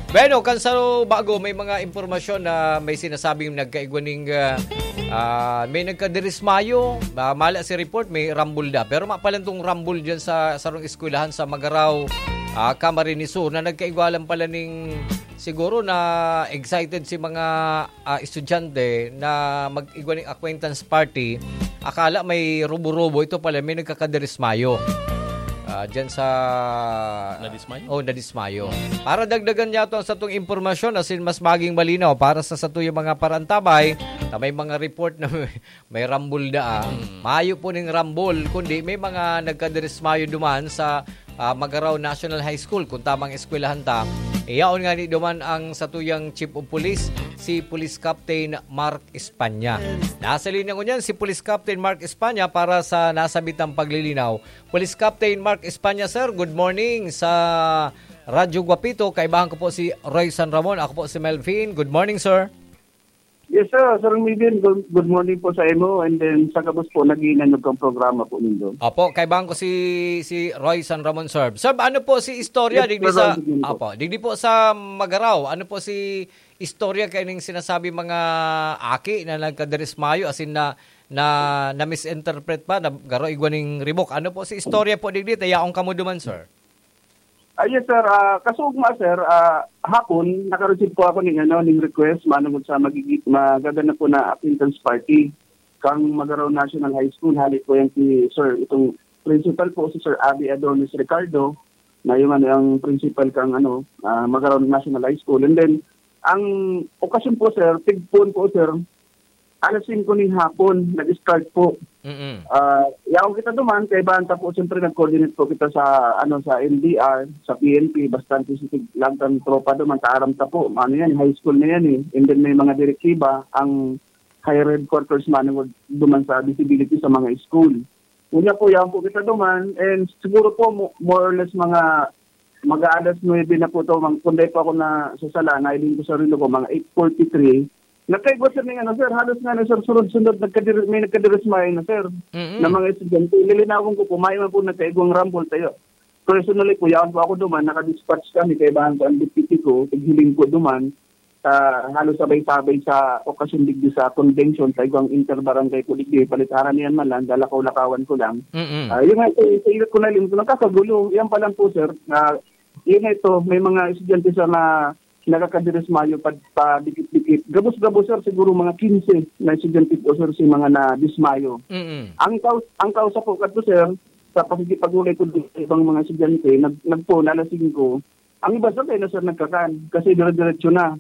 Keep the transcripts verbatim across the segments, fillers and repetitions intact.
Bueno, kan sa bago, may mga impormasyon na may sinasabing nagkaigwa ning, ah, ah, may nagkadirismayo. Ah, mala si report, may rambol da. Pero mapalantong rambol dyan sa sarong eskwelahan sa Magarao, ah, Camarines Sur, na nagkaigwa lang pala ning siguro na excited si mga, ah, estudyante na mag-igwa ning acquaintance party. Akala may rubo-rubo, ito pala may nagkakadirismayo. Ah, dyan sa Nadismayo? Oh, nadismayo. Para dagdagan niya ito ang satong impormasyon, asin mas maging malinaw para sa satuyang mga parantabay, na may mga report na may, may rambol da, ah. Mm. Mayo po ning rambol, kundi may mga nagkadirismayo duman sa, ah, Magarao National High School, kung tamang eskwelahan ta. Iyaon nga ni duman ang satuyang Chief of Police, si Police Captain Mark Espanya. Nasa linya ngunyan si Police Captain Mark Espanya para sa nasabitang paglilinaw. Police Captain Mark Espanya, sir, good morning sa Radyo Guapito. Kaibahan ko po si Roy San Ramon. Ako po si Melvin. Good morning, sir. Yes, sir. Sir Melvin, good, good morning po sa imo and then sa gabos po, nag-iinanyog kang programa po nindo. Opo, kaibahan ko si, si Roy San Ramon, sir. Sir, ano po si istorya? Yes, digdi sir, sa, Melvin po. Opo, digdi po sa Magarao. Ano po si istorya kaining sinasabi mga aki na nagkadirismayo, asin na, na, na-misinterpret pa, na garo igwa ning ribok? Ano po si istorya po digdi? Tayaon kamo duman, sir. Ah, yes, sir. Ah, kasugma, sir, ah, hapon, naka-receive po ako ning, ano, ning request manungod sa magigi-, magaganap po na acquaintance party kang Magarao National High School. Hali po yan si, sir, itong principal po, si Sir Abby Adonis Ricardo, na yung, ano, ang principal kang, ano, ah, Magarao National High School. And then, ang okasyon po, sir, tigpon po, sir, alas singko ning hapon, nag-start po. Mm-mm. Ah, yaon kita duman, kaibahan ta po, siyempre, nag-coordinate po kita sa, ano, sa N B R, sa P N P, bastante si tig-, lagtang tropa duman, kaaram ta po, ano yan, high school na yan eh. And then may mga direktiba, ang higher headquarters manungod duman sa visibility sa mga school. Unya po, yaon po kita duman, and siguro po, mo-, more or less mga, mga alas nuebe na po to, mang-, kung dai po ako nasasala, nailing ko sa relo ko, mga eight forty-three. Nagkaigwa, sir, ning ano, sir, halos nga na, sir, sunod-sunod, nagkadiri-, may nagkadirismayo na, sir, Mm-mm. na mga estudyante. Lilinawon ko po, may man po nagkaigwang rambol tayo. Personally po, yaon po ako duman, naka-dispatch kami, kaibahan ko ang deputy ko, tighiling ko duman, sa halos sabay-sabay sa okasyon digdi sa convention, sa igwang inter-barangay po digdi, palit haranian man lang, dalakaw-lakawan ko lang. Mm-mm. Ah, yun nga, sa, sa ilot ko na rin, nagkakagulo. Yan pa lang po, sir, na yun nga ito, may mga estudyante sa na nakakadirismayo pa, pa dikit-dikit. Gabos-gabos, sir, siguro mga quince na estudyante po, sir, si mga nadismayo. Mm-mm. Ang kaus-, ang kausa po kadto, sir, sa pakikipag-ulay ko dun sa ibang mga estudyante, nag-, nagpo, alas singko, ang iba, sir, kaya na, sir, nagkakan kasi dire-diretso na.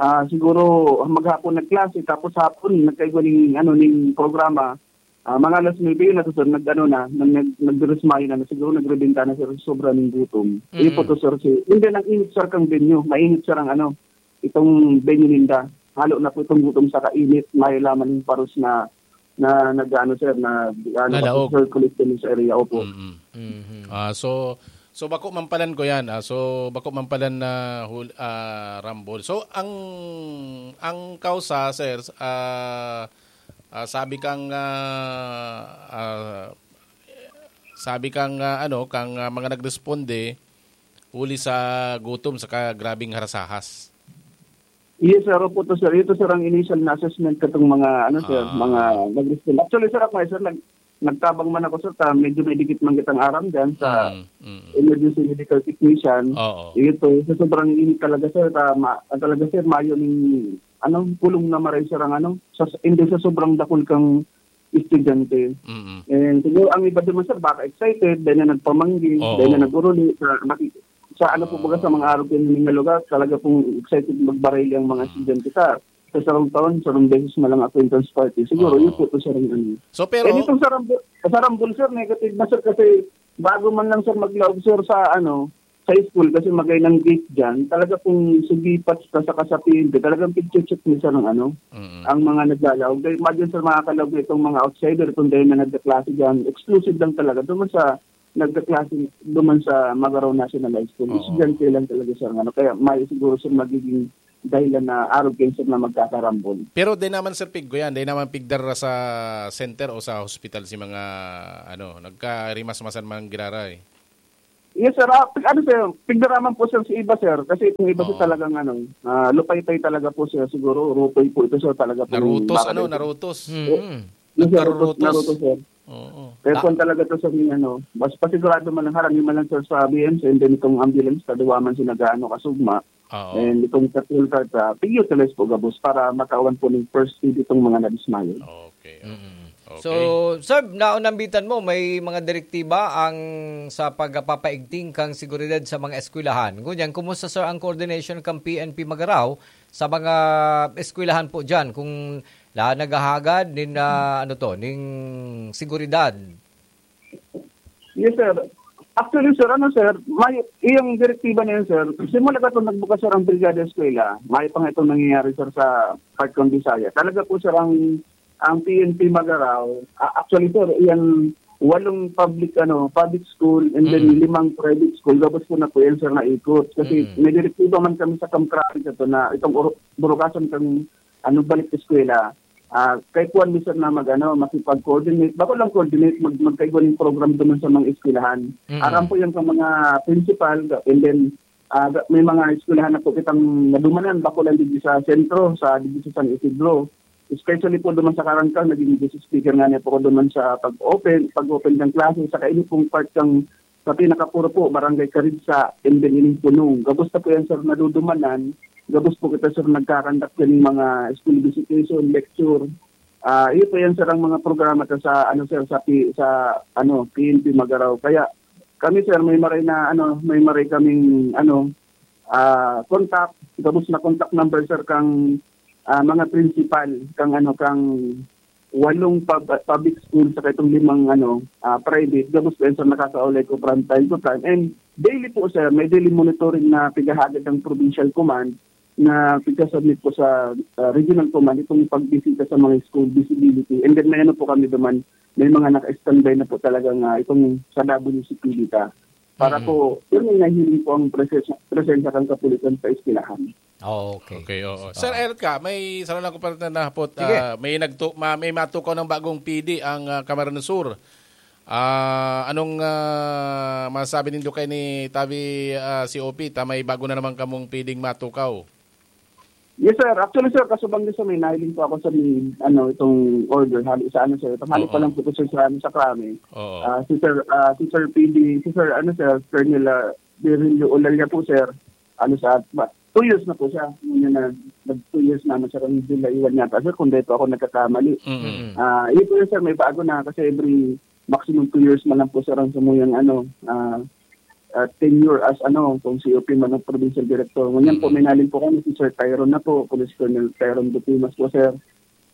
Ah, siguro maghapon nagklase, tapos hapon nagkaigwa ning, ano, ning programa. Ah, mga alas nuebe yun na to, sir, nag-, ano na, nag-, nag-, nagdirismayo na, na siguro nagrebenta na, sir, sobra ning gutom. Yun po Mm. to, sir, si, hindi, ang init, sir, kang venue. Mainit, sir, ang, ano, itong venue ninda. Halo na po itong gutom sa kainit, may laman yung paros na, na nag-ano, sir, na, ano, Nalaog. circulate din sa area, opo. Mm-mm. Mhm. Ah, so, so bako mampalan ko yan. Ah, so, bako mampalan na hul-, ah, rambol. So, ang, ang kausa, sir, ah, ah, sabi kang, ah, ah, sabi kang, ah, ano, kang, ah, mga nagresponde, huli sa gutom saka grabing harasahas. Yes, sir. Opo to, sir. Ito, sir, ang initial na assessment katong mga, ano, sir, Ah. mga nag-respond. Actually, sir, ako, eh, sir, nag-, nagtabang man ako, sir, ta medyo may dikit man kitang aram dyan sa Mm, mm. emergency medical technician. Oo. Ito, sa sobrang init talaga, sir, ta ma-, talaga, sir, mayo ning, ano, pulong na maray, sir, ang, ano, sa, hindi sa sobrang dakul kang estudyante. Mm. And siguro ang iba naman, sir, baka excited, dahil na nagpamanggi, Oo. dahil na nag-uruli, sa, maki-, sa ano po, baga, sa mga arog kayo nga lugar, talaga pong excited magbarili ang mga Mm. estudyante sa, sa sarong taon, sarong beses na lang acquaintance party. Siguro, Oo. yun po, to, sir, ang ano. So, pero Eh, ditong sa Rambol, sa Rambol, sir, negative na, sir, kasi bago man lang, sir, maglaog, sir, sa ano, sa school, kasi magay ng gate dyan, talaga pong sugipat sa, sa kasapin, talagang picture check ni, sir, ng ano, Mm. ang mga naglalaog. Dahil imagine, sir, makakalaog na itong mga outsider, kung dahil na nagkaklase dyan, exclusive lang talaga. Doon sa nagkaklase, doon sa Magarao National High School, Oo. estudyante lang talaga, sir, ng ano. Kaya may siguro, sir, magiging dahilan na arog kayo, sir, na magkakarambol. Pero di naman, sir, piggo yan. Di naman pigdar sa center o sa hospital si mga, ano, nagkarimas-masan man giraray. Yes, sir. Ah, ano, sir, pigdaraman po, sir, sa iba, sir. Kasi itong iba, sir, Oo. talagang, ano, ah, lupaypay talaga po, sir. Siguro, rupoy po ito, sir, talaga pong Narutos, ano, barangay, sir. narutos. Mm. Yes, sir, rutos, Nagkarutos. narutos, sir. Oo. Kaya Ta- kung talaga to, sir, yung, ano, mas pasigurado man lang, harang man lang, sir, sa B M C, and then itong ambulance, kadawa man siya nag-aano, kasugma. Oo. And itong patrol car, sa pag-utilize po, gabos, para matawan po ng first aid itong mga nadismayo. Okay, okay. Mm. Okay. So, sir, naunambitan mo, may mga direktiba ang sa pagpapaigting kang seguridad sa mga eskwelahan. Ngunyan, kumusta, sir, ang coordination kang P N P Magarao sa mga eskwelahan po dyan? Kung la naghahagad nin, ah, ano to, ning seguridad? Yes, sir. Actually, sir, ano, sir, may, iyang direktiba na yun, sir. Simula ka itong nagbukas, sir, ang Brigada Eskwela, may pa nga itong nangyayari, sir, sa Park ng Bisaya. Talaga po, sir, ang, ang P N P Magarao, ah, actually, sir, iyan walong public, ano, public school, and then Mm. limang private school. Gabos po na po yan, sir, naikot. Kasi Mm. may direktiba man kami sa Kamkrami sa to na itong uru-, burukasan kang, ano, balik sa eskwela. Ah, kay kuwan mi, sir, na mag, ano, makipag-coordinate. Bako lang coordinate, mag-, magkaigwa ng program duman sa mga eskwelahan. Mm. Aram po yan sa mga principal, and then, ah, ga-, may mga eskwelahan na po kitang nadumanan, bako lang digdi sa sentro, sa, digdi sa San Isidro. Especially po duman sa Karangkang, naging guest speaker nga niya po ako duman sa pag-open, pag-open ng klase, saka ini pong part ng sa pinakapuro po, Barangay Caridsa, and then ining Punong. Gabos na po yan, sir, nadudumanan. Gabos po kita, sir, nagkakandak din ng mga school visitation, lecture. Ah, iyo po yan, sir, ang mga programa ta sa, ano, sir, sa, P- sa, ano, P N P Magarao. Kaya kami, sir, may maray na, ano, may maray kaming, ano, ah, contact. Gabos na contact number, sir, kang, ah, mga principal, kang, ano, kang walong pub-, public school sa itong limang, ano, ah, private. Gabos po yan, sir, nakakaulay ko from time to time. And daily po, sir, may daily monitoring na pigahagad ng provincial command na pigka-submit po sa, ah, regional command itong pagbisita sa mga school visibility. And then may ano po kami duman, may mga naka-standby na po talaga nga itong sa W C P data. Para Mm. po, yun yung nahiling po ang presensya, presensya ng kapulisan sa eskwelahan. Oh, okay. Okay, oo. Sir Oo. Eric ka, may isa lang ko pa na nahapot, Sige. ah, may nagtu-, ma-, may matukaw ng bagong P D ang, ah, Camarines Sur. Ah, anong, ah, masabi nindo kay ni Tabi, ah, C O P? Ta may bago na naman kamong P D-ng matukaw. Yes, sir. Actually, sir, kasubang din sa may nahiling po ako sa may, ano, itong order, hali sa ano, sir. Itong hali pa Oo. lang po ito, sir, sa, ano, sa Krami. Oo. Ah, si Sir, ah, si Sir P D, si Sir, ano, sir, Colonel, ah, Virilio Olalia po, sir. Ano, sa, ba, two years na po siya. Ngayon na, nag two years na, ano, sir, ang July one yata, sir, kung dito ako nagkakamali. Mm. Ah, yun po yun, sir, may bago na kasi every maximum two years man lang po, sir, ang samuyang, ano, ah, ah, tenure as, ano, kung C O P man ang provincial director. Ngunyan po, Mm. may nahiling po kami si Sir Tyron na po, Police Colonel Tyron Dutimas po, sir.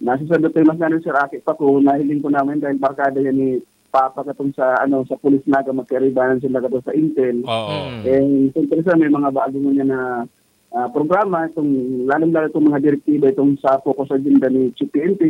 Na si Sir Dutimas na rin, sir, aki pa ko, nahiling ko naman dahil barkada yan ni Papa katong sa, ano, sa Police Naga, magkaiba-iba sila katong sa Intel. Oo. Mm. Eh, siyempre, sir, may mga bago ngunyan na, ah, programa, itong, lalong-lalo itong mga direktiba, itong sa focus agenda ni Chief P N P.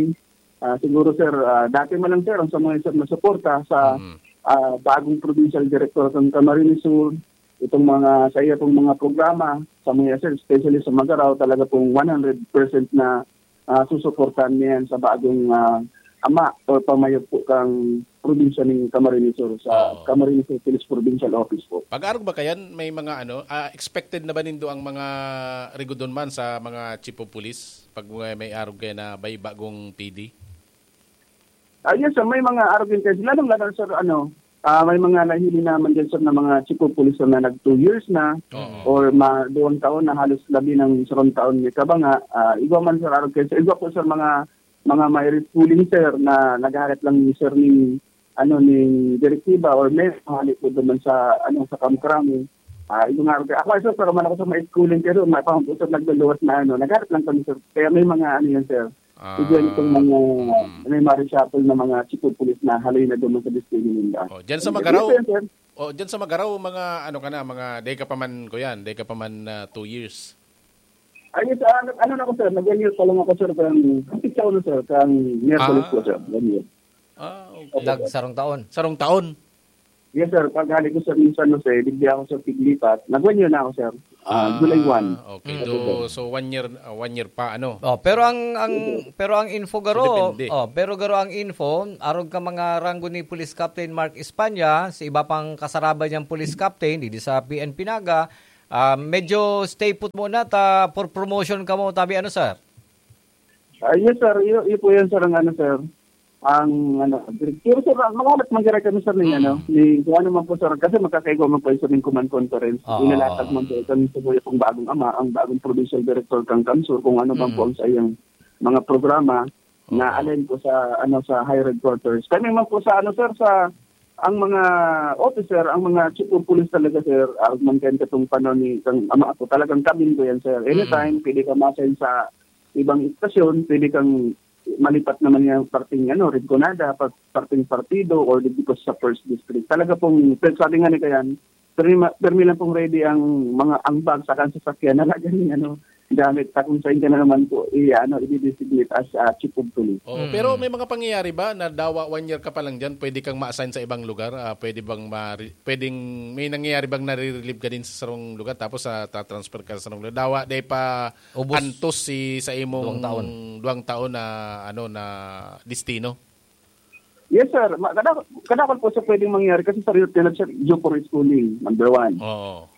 Ah, siguro, sir, ah, dati man lang, sir, ang sa mga, sir, na suporta sa, Mm. ah, bagong provincial director ng Camarines Sur, itong mga, sa iya pong mga programa, sa mga, sir, especially sa Magarao, talaga pong one hundred percent na, ah, susuportahan niya yan sa bagong, ah, ama o pamayo po kang probinsya ng Camarines Sur, sa Oo. Camarines Sur Police Provincial Office po. Pag-arog ba kayan, may mga ano, ah, expected na ba nindo ang mga rigodon man sa mga chief of police? Pag may, may arog kayo na may bagong P D? Ah, yes, sir. May mga arog din kayo. Lalong-lalo, sir, ano, ah, may mga nahili naman din, sir, na mga chief of police, sir, na nag two years na Oo. or ma-, duwang taon na, halos labi ng sarong taon may kabanga. Ah, igwa man, sir, arog kayo. Sir, igwa po, sir, mga, mga may schooling, sir, na naghahalat lang, sir, ni, ano, ni direktiba or may hali po naman sa, ano, sa Kamkrami. Ah, igwa nga, arog kayo. Ako, sir, pero man ako sa may schooling, pero may pang po, sir, nagluluwas na, ano, naghahalat lang kami, sir. Kaya may mga, ano yan, sir. Ah, Igwa itong mga, mm. may mga reshuffle na mga chief of police na haloy na duman sa destiny nila. Oh, dyan sa And Magaraw, yes, sir. oh, dyan sa Magaraw, mga ano ka na, mga day ka pa man, kuyan, day ka pa man, ah, two years. Ayun, sa ano, ano na ako, sir, nag-one year pa lang ako, sir, kang, ang pizza ko na, sir, kang Miyerkules Ah. po, sir, one year. Ah, okay. Lag sarong taon. Sarong taon? Yes, sir, pag hali ko, sir, minsan, no, sir, digdi ako, sir, piglipat, nag-one year na ako, sir. Ah, July one. Okay. Mm. So, so one year, ah, one year pa, ano? Oh, pero ang, ang, Yes, sir. pero ang info, So, garo, depende. oh, pero garo ang info, arog ka mga ranggo ni Police Captain Mark Espana, sa iba pang kasaraba niyang police captain, didi sa P N P Naga, ah, medyo stay put muna ta for promotion ka mo, tabi ano, sir? Ah, yes, sir. Iyo, iyo po yan, sir, ang ano, sir. Ang ano, pero, sir, ang makalat man kami, sir, ni, Mm. ano, ni, kung ano man po, sir, kasi magkakaigwa man po, sir, ng command conference. Oo. Inalatag man po, sir, ni Sabuya pong bagong ama, ang bagong provincial director kang Kamsur, kung ano man po Mm. ang sa iyang mga programa na Oo. alin po sa, ano, sa higher headquarters. Kami man po sa, ano, sir, sa, ang mga officer, ang mga chief of police talaga, sir, ah, man kayo katong panahon ni kang ama ako, talagang kami po yan, sir. Anytime, Mm. pwede ka ma-assign sa ibang istasyon, pwede kang malipat naman yung parting, ano, Rinconada, par-, parting partido, or dito sa first district. Talaga pong, sabi nga ni Kayan, permi, permi lang pong ready ang mga, ang bag, saka ang sasakyan na lagi, ano, gamit. Sa kung saan ka na naman po, i-, ano, i-designate as, ah, chief of police. Oo, Mm. pero may mga pangyayari ba na dawa one year ka pa lang dyan, pwede kang ma-assign sa ibang lugar? Ah, pwede bang mari-, pwedeng, may nangyayari bang nare-relieve ka din sa sarong lugar tapos, ah, tatransfer ka sa sarong lugar? Dawa, di pa Ubos. antos si, sa imong Duwang taon. duwang taon na, ano, na destino? Yes, sir. Ma-, kada-, kadakol po sa pwedeng mangyari kasi sa Rio Tinap, sir, due for schooling, number one. Oo.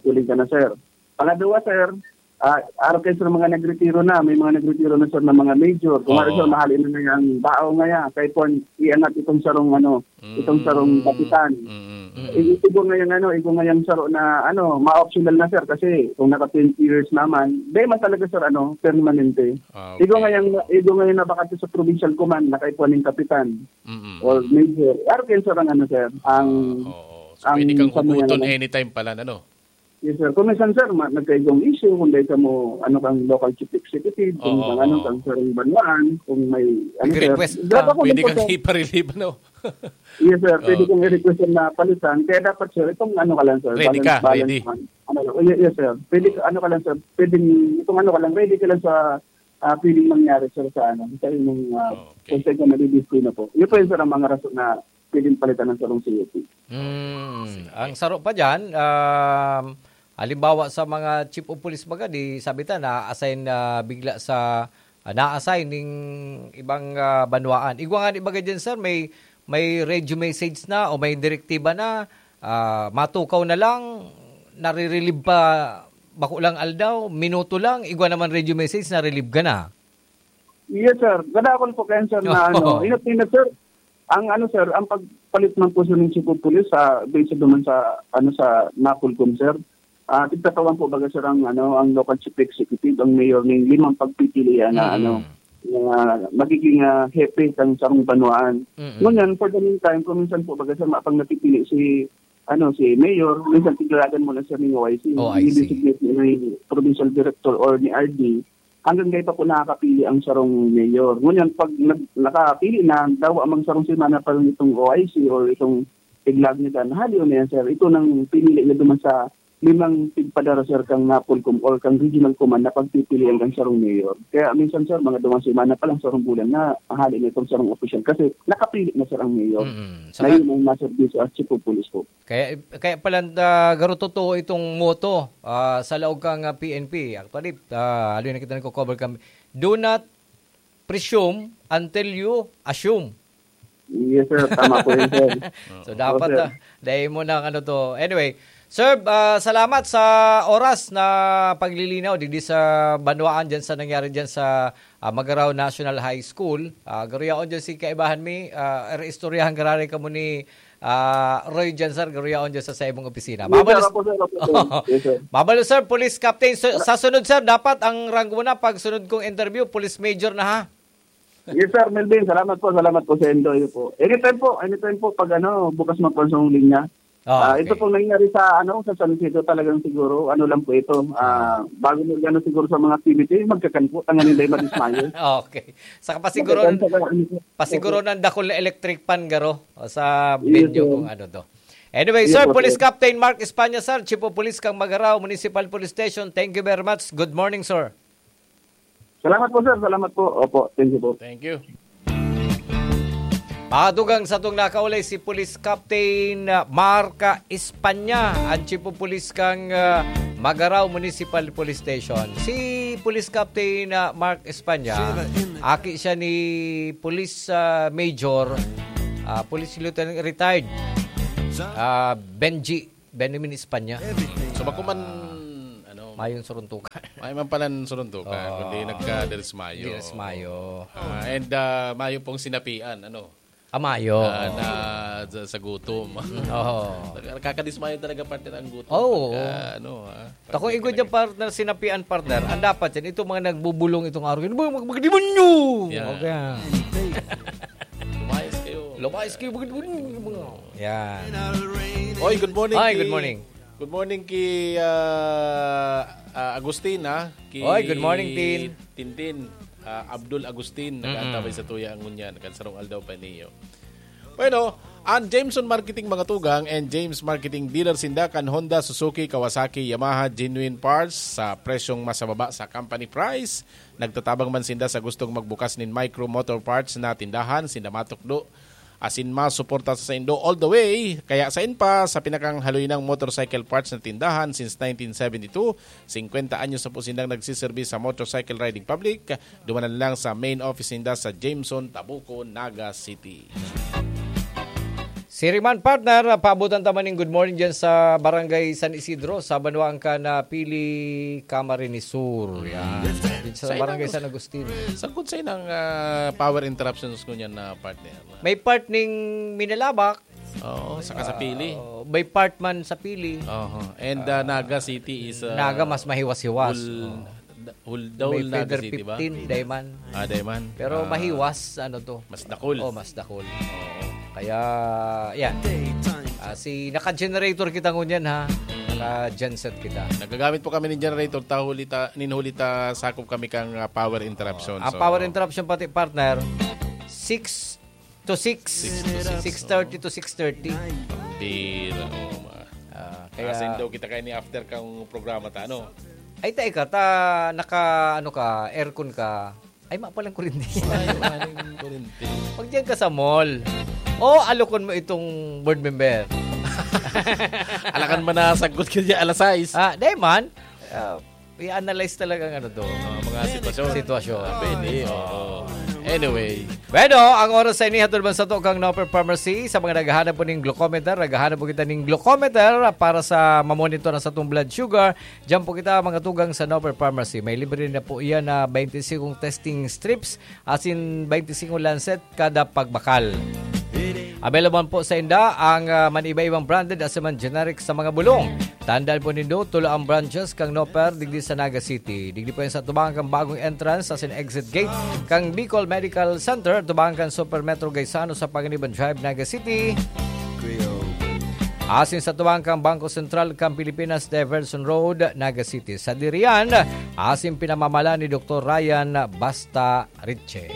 Schooling ka na, sir. Pangadwa, sir, ah, araw kayo sa mga nagretiro na, may mga nagretiro na, sir, na mga major. Kung ano, Oo. sir, mahali na nga ang bao nga yan. Kaya po, iangat itong sarong, ano, itong sarong Mm. kapitan. Mm, mm, mm. I-, igo nga yung, ano, igo nga yung saro na, ano, ma-optional na, sir, kasi kung naka twenty years naman, di man talaga, sir, ano, permanente. Ah, Igo okay. nga yung, igo nga yung nabakante sa provincial command, nakaipuan ng kapitan Mm, mm, or mm. major. Araw kayo, sir, ang, ano, sir, ang, Ah, oo. So, ang pwede kang sa mga huguton ano. anytime pala, ano? Yes, sir. Kung minsan, sir, ma-, nagkaigong issue, kung dahil ka mo, ano, kang local chief executive, kung Oo, kang, ano, oo. kang sarong banwaan, kung may, ano, sir, Nag-request ka. dapat ko Pwede din po, kang sir. ipa-relieve, no? Yes, sir. Pwede Oo, kong okay. i-request na palitan. Kaya dapat, sir, itong ano ka lang, sir, Ready balance, ka, balance ready. man. Ano, yes, yes, sir. Pwede ka, ano ka lang, sir, pwedeng, itong ano ka lang, ready ka lang sa, ah, pwedeng mangyari, sir, sa ano, sa inyong, ah, Okay. kung saan ka nadidisplay na po. Yun po yun, sir, ang mga rason na pwedeng palitan ng sarong C O P. Mm, Sige. ang saro pa dyan, um, halimbawa sa mga chief of police baga, di sabi ta, na-assign na bigla sa, ah, na-assign ning ibang, ah, banwaan. Igwa nga di baga dyan, sir, may, may radio message na o may direktiba na, ah, matukaw na lang, nare-relieve pa, bako lang aldaw, minuto lang, igwa naman radio message, na-relieve ka na. Yes, sir. Kadakol po kayo, sir, na Oo. ano. Ingat, ingat, sir. Ang ano, sir, ang pagpalit man po, sir, ng chief of police sa, based naman sa, ano, sa Napolcom, sir. Ah, tigtatawan po, baga, sir, ang, ano, ang local chief executive, ang mayor, ng limang pagpipilian na, Mm. ano, na magiging, ah, hepe ng sarong banwaan. Mm. Ngunyan, for the meantime, kung minsan po, baga, sir, mapang napipili si, ano, si mayor, minsan tiglagan mo na, sir, ng O I C. O I C. I-designate ni provincial director or ni R D. Hanggang ngayon pa po nakakapili ang sarong mayor. Ngunyan, pag nag-, nakapili na, daw amang sarong semana pa rin itong O I C or itong tiglag nila, nahaliw na yan, sir. Ito nang pinili na duman sa limang tigpadara, sir, kang Napolcom or kang regional command na pagpipilian kang sarong mayor. Kaya minsan, sir, mga duwang semana pa lang, sarong bulan na, hali na itong sarong opisyal kasi nakapili na, sir, ang mayor. Mm-mm. Na Saka yun ang nasa as chief of police po. Kaya, kaya pala, ah, garo totoo itong motto, ah, sa laog kang, ah, P N P. Actually, ah, haloy na kita nagko-cover kami. Do not presume until you assume. Yes, sir. Tama po yun, sir. So, Oo, dapat, sir. ah, dahil mo na ang ano to. Anyway, sir, ah, salamat sa oras na paglilinaw digdi sa banwaan dyan sa nangyari dyan sa, ah, Magarao National High School. Ah, garuyaon dyan si kaibahan mi, ah, istoryahan gararay kamo ni, ah, Roy dyan, sir. Garuyaon dyan sa, sa imong opisina. Yes, sir. Mabalos, Opo, sir. Opo, sir. Yes, sir. Mabalos, sir. Police Captain. So, sa sunod, sir, dapat ang ranggo na pag sunod kong interview, Police Major na, ha? Yes, sir, Melvin. Salamat po, salamat po sa inyo po. Anytime po, anytime po pag ano, bukas man po ang linya. Ah, Ah, ito okay. pong nangyari sa ano, sa San Isidro, talagang siguro, ano lang po ito, ah, Ah. bago mag-ano siguro sa mga activity, magkakan po, tanganin dahil madismayo. Okay. Saka pasiguro Magkakan ng, sa ano po. pasiguro ng dakul na electric fan, garo, o sa Yes, venue sir. kung ano to. Anyway, Yes, sir, po, Police sir. Captain Mark Espana, sir, Chief of Police kang Magarao Municipal Police Station. Thank you very much. Good morning, sir. Salamat po, sir. Salamat po. Opo, thank you po. Thank you. Mga dugang, satong nakaulay si Police Captain, ah, Mark Espana, ang Chief of Police kang, ah, Magarao Municipal Police Station. Si Police Captain, ah, Mark Espanya, aki siya ni Police, ah, Major, ah, Police Lieutenant retired, ah, Benji, Benjamin Espanya. So, bako man, ano, Mayong suruntukan. May man palan suruntukan, Oo. kundi nagka-Dres Mayo. Dres Mayo. Ah, and, ah, mayo pong sinapian, ano? Ah, mayo. Ah, na sa, sa gutom. Oo. Nakakadismayo talaga, partner, ang gutom. Oo. Pagka, ano, ah, Tako pag igod talaga yung partner, sinapian, partner. Ang dapat yan, itong mga nagbubulong itong araw, "Ano ba, mag-, magdemonyo?" Yeah. Okay. Lumayas kayo. Lumayas kayo, magdemonyo. Yan. Oy, good morning, Hi, ki-, good morning. good morning ki, ah, ah, Agustin, ha? Ki Oy, good morning, Tin. Tintin, ah, Abdul Agustin, Mm-mm. nag-aantabay sa tuya ang ngunyan, kan sarong aldaw pa niyo. Bueno, ang Jameson Marketing mga tugang and James Marketing dealer sinda kan Honda, Suzuki, Kawasaki, Yamaha, genuine parts sa presyong mas mababa sa company price. Nagtatabang man sinda sa gustong magbukas nin micro motor parts na tindahan, sinda matukdo asin masuporta sa saindo all the way. Kaya sain pa sa pinakang haloy ng motorcycle parts na tindahan since nineteen seventy-two, singkwenta anyos na po sindang nagsiserbi sa motorcycle riding public. Dumanan lang sa main office ninda sa Jameson, Tabuco, Naga City. Siriman, partner, paabutan ta man ning good morning dyan sa Barangay San Isidro, sa banwaan kan, ah, Pili, Camarines Sur. Yan. Dyan sa Sa Barangay inang San Agustin. Sangkot sa inang, ah, power interruptions ko niyan na partner. May part ning Minalabak. Oo, saka sa Pili. Ah, may part man sa Pili. Oho. And, ah, Naga City is, ah, Naga mas mahiwas-hiwas. Hul-, Oh. Huldaw May na feather kasi, di ba? fifteen, Diamond. Ah, Diamond. Pero Ah, mahiwas, ano to? Mas dakul. Oh, mas dakul. Oo. Kaya, yan. Ah, si, naka-generator kita ngunyan, ha? Mm. Naka-genset kita. Nagagamit po kami ng generator, ta huli ta, nin huli ta sakop kami kang, ah, power interruption. Ang So, power interruption pati, partner, six to six. Six to six, Six thirty to six thirty. Pira, oh, ma. Ah, kaya Asin daw kita kayo ni after kang programa ta, ano? Ay, ta ika, ta naka, ano ka, aircon ka. Ay, ma palang kurente. Ay, maling kurente. Pag diyan ka sa mall, o alokon mo itong board member. Alakan man na sagot ka dyan, alas sais. Ah, di man. Ah, i-analyze talaga ang ano to. Ah, mga sitwasyon. Sitwasyon. Ah, pwede, oo. Anyway. Bueno, ang oras sa ini, hatod man sa to kang Noper Pharmacy. Sa mga naghahanap po ning glucometer, naghahanap po kita ning glucometer para sa mamonitor ang satong blood sugar. Diyan po kita, mga tugang, sa Noper Pharmacy. May libre na po iyan na twenty-five testing strips asin twenty-five lancet kada pagbakal. Available po sa inda ang, ah, maniba-ibang branded asin man generic sa mga bulong. Tandaan po nindo, tulo ang branches kang Noper digdi sa Naga City. Digdi po yan sa tubangan kang bagong entrance asin exit gate kang Bicol Medical Center, tubangan kang Super Metro Gaisano sa Panganiban Drive, Naga City. Asin sa tubangan kang Bangko Sentral kang Pilipinas Diversion Road, Naga City. Sa Dirian, asin pinamamahala ni Doktor Ryan Basta Riche.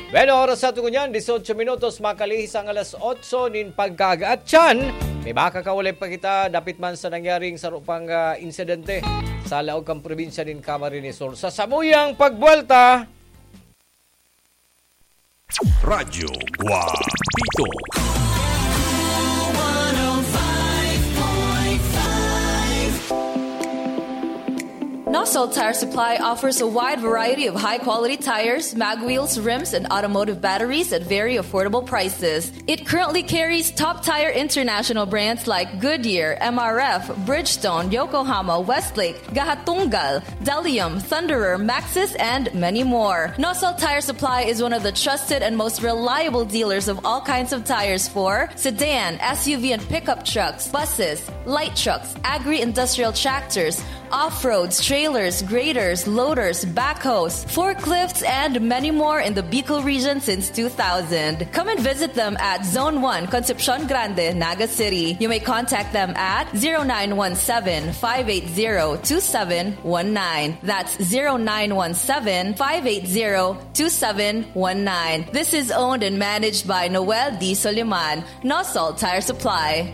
Bueno, oras sa tungo niyan, dieciocho minutos, makalihis ang alas otso nin pagkaaga. At tiyan, may makakaulay pa kita, dapit man sa nangyaring saro pang, ah, insidente sa laog kan probinsya nin Camarines Sur. Sa samuyang pagbuwelta, Radyo Guapito. Nosol Tire Supply offers a wide variety of high-quality tires, mag wheels, rims, and automotive batteries at very affordable prices. It currently carries top tire international brands like Goodyear, M R F, Bridgestone, Yokohama, Westlake, Gahatunggal, Delium, Thunderer, Maxxis, and many more. Nosol Tire Supply is one of the trusted and most reliable dealers of all kinds of tires for sedan, S U V, and pickup trucks, buses, light trucks, agri-industrial tractors, off-roads, trailers, graders, loaders, backhoes, forklifts, and many more in the Bicol region since two thousand. Come and visit them at Zone one, Concepcion Grande, Naga City. You may contact them at zero nine one seven, five eight zero, two seven one nine. That's zero nine one seven, five eight zero, two seven one nine. This is owned and managed by Noel D. Soliman. Nosol Tire Supply.